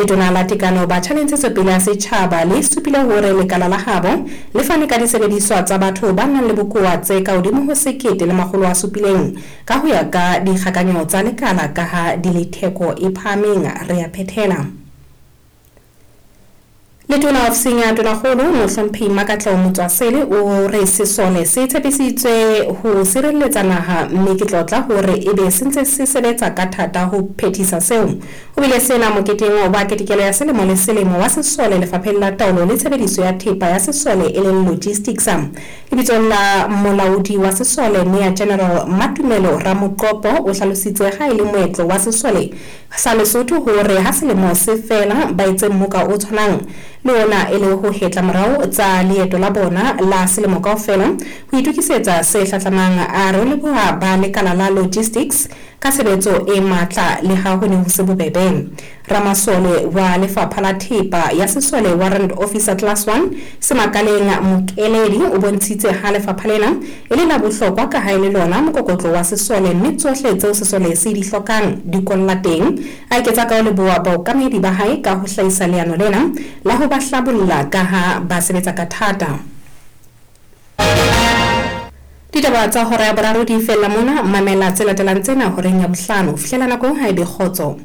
Letona la Tekano, Batjha le Ntshetsopele ya Setjhaba le supile hore lekala la habo le fane ka disebediswa tsa batho ba nang le bokowa tse ka hodimo ho 1700 ka ho ya ka dikgakanyo tsa lekala kaha di le theko e phahameng. Re a phethela. Letona ofising ya Tonakgolo, Mohlomphehi Makatleho Motswasele o re sesole se tshepisitswe ho sirelletsa naha mme ke tlotla hore ebe se ntse se sebetsa ka thata ho phethisa seo. Ho bile sena moketeng wa ketekelo ya selemo le selemo wa sesole lefapheng la taolo le tshebediso ya thepa ya sesole e leng logistics. Lebitsong la molaodi wa sesole Major General Matumelo Ramoqopo o hlalositse ha e le moetlo wa sesole sa Lesotho hore ha selemo se fela ba etse mmoka o tshwanang le ona e le ho hetla morao tsa leeto la bona la selemo kaofela ho itokisetsa se hlahlamang. A re o leboha ba lekala la logistics ka tshebetso e matla le ha ho ne ho se bobebe. Ramasole wa Lefapha la Thepa ya Sesole Warrant Officer Class 1 Semakaleng Mokeledi o bontshitse ha lefapha lena e le la bohlokwa ka ha e le lona mokokotlo wa sesole mme tsohle tseo sesole se di hlokang di kolla teng. A eketsa ka ho leboha baokamedi ba hae ka ho hlahisa leano lena la ho ba hlabolla kaha ba sebetsa ka thata. Ditaba tsa hora ya boraro di fella mona. Mamela tse latelang tsena horeng ya bohlano. Ho fihlela nako eo ha e be kgotso.